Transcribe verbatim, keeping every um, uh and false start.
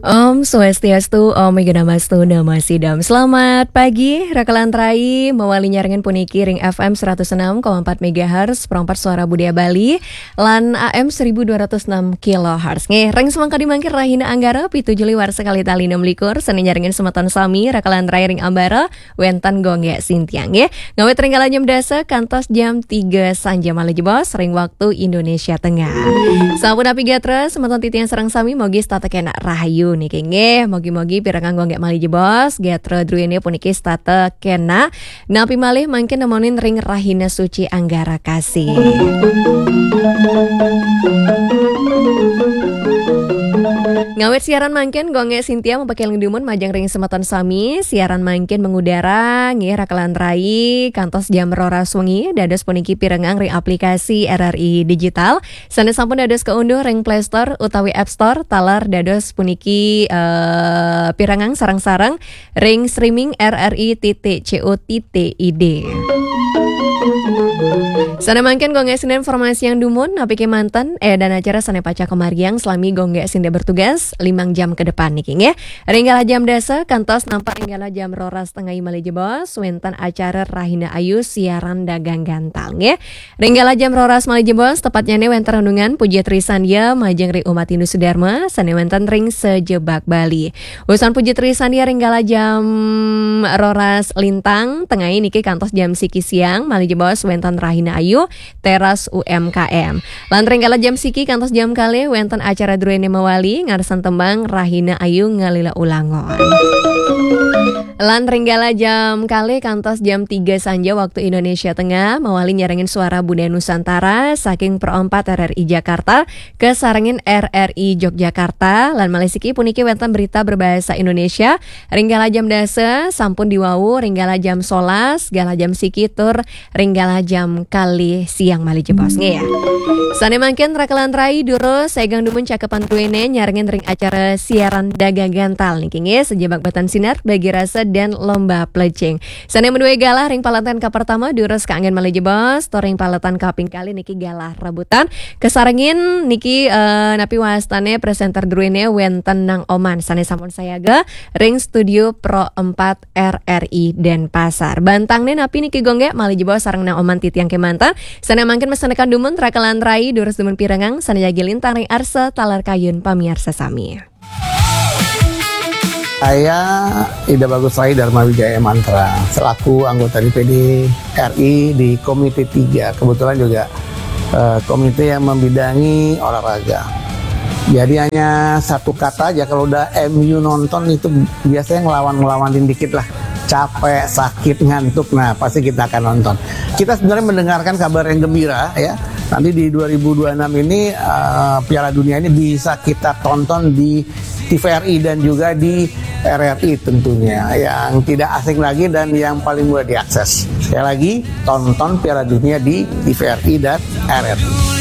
Om Swastiastu, Om Awighnamastu Namo Sidham. Selamat pagi, Raka lan Rai, mawali nyarengin puniki ring F M seratus enam koma empat megahertz, Pro empat Suara Budaya Bali, lan A M seribu dua ratus enam kilohertz. Nggih, ring semeng kadi mangkin rahina Anggara, pitu Juli warsa kalih tali enam likur, sane nyarengin semeton sami, Raka lan Rai ring ambara, wenten Gung Gek Sintiang, nggih. Ngawit ring kala jam dasa kantos jam tiga sanja malih jebos ring waktu Indonesia Tengah. Sampun napi gatra, semeton titiang sareng sami mogi setata kenak rahayu niki, nggih. Mogi-mogi pirengang Gung Gek malih jebos, gatra druene puniki setata kenak. Napi malih mangkin nemonin ring rahina suci Anggara Kasih. Ngawit siaran mangkin, Gung Gek Sintia mapakeling dumun majeng ring semeton sami. Siaran mangkin mengudara, nggih, Raka lan Rai, kantos jam roras wengi, dados puniki pirengang ring aplikasi R R I Digital. Sane sampun dados kaunduh ring Play Store utawi App Store, taler dados puniki, eh, pirengang sareng-sareng ring streaming R R I titik C O titik I D. Sane mangkin Gung Gek Sintia informasiang dumun, napi kemanten, eh, dan acara sane pacah kamargiang selami Gung Gek Sintia bertugas, limang jam ke depan niki, nggih. Ring galah jam dasa, kantos nampak ring galah jam roras tengai malih jebos, wenten acara Rahina Ayu siaran dagang gantal, nggih. Ring galah jam roras malih jebos, tepatnyane wenten renungan Puja Trisandia majeng ring umat Hindu Sudarma, sane wenten ring sajebag Bali. Wusan Puja Trisandia ring galah jam roras lintang, tengai niki kantos jam siki siang, malih jebos wenten Rahina Ayu, teras U M K M. Lan ring galah jam siki kantos jam kalih wenten acara druene mawali, ngarsan tembang Rahina Ayu ngalila ulangon. Lan ring galah jam kalih kantos jam tiga sanja waktu Indonesia Tengah, mawali nyarengin Suara Budaya Nusantara saking Pro empat R R I Jakarta, kasarengin R R I Yogyakarta, lan malih siki puniki wenten berita berbahasa Indonesia, ring galah jam dasa, sampun diwawu, ring galah jam solas, galah jam siki tur ring galah jam kalih siang malih jebos, nggih, ya. Sane mangkin Raka lan Rai durus segang dumun cakepan druene nyarengin ring acara siaran dagang gantal niki, nggih, sajebag batan sinar, bagi rasa dan lomba plecing. Sane madue galah ring paletan kapertama durus kaanggen malih jebos, tur ring paletan kaping kalih niki galah rebutan. Kasarengin niki, eh, napi wastane presenter druene wenten Nang Oman sane sampun sayaga ring studio Pro empat R R I Denpasar. Bantangne napi niki, Gung Gek, malih jebos sareng Nang Oman titiang kemanten. Sane mangkin masanekan dumun Raka lan Rai durus dumun pirengang sane jagi lintang ring arsa taler kayun pamiarsa sami. Saya Ida Bagus Rai Dharma Wijaya Mantra, selaku anggota D P D R I di Komite tiga, kebetulan juga eh, komite yang membidangi olahraga. Jadi hanya satu kata aja, kalau udah M U nonton itu biasanya ngelawan-ngelawanin dikit lah. Capek, sakit, ngantuk, nah pasti kita akan nonton. Kita sebenarnya mendengarkan kabar yang gembira ya. Nanti di dua ribu dua puluh enam ini eh, Piala Dunia ini bisa kita tonton di T V R I dan juga di R R I tentunya. Yang tidak asing lagi dan yang paling mudah diakses. Sekali lagi, tonton Piala Dunia di T V R I dan R R I.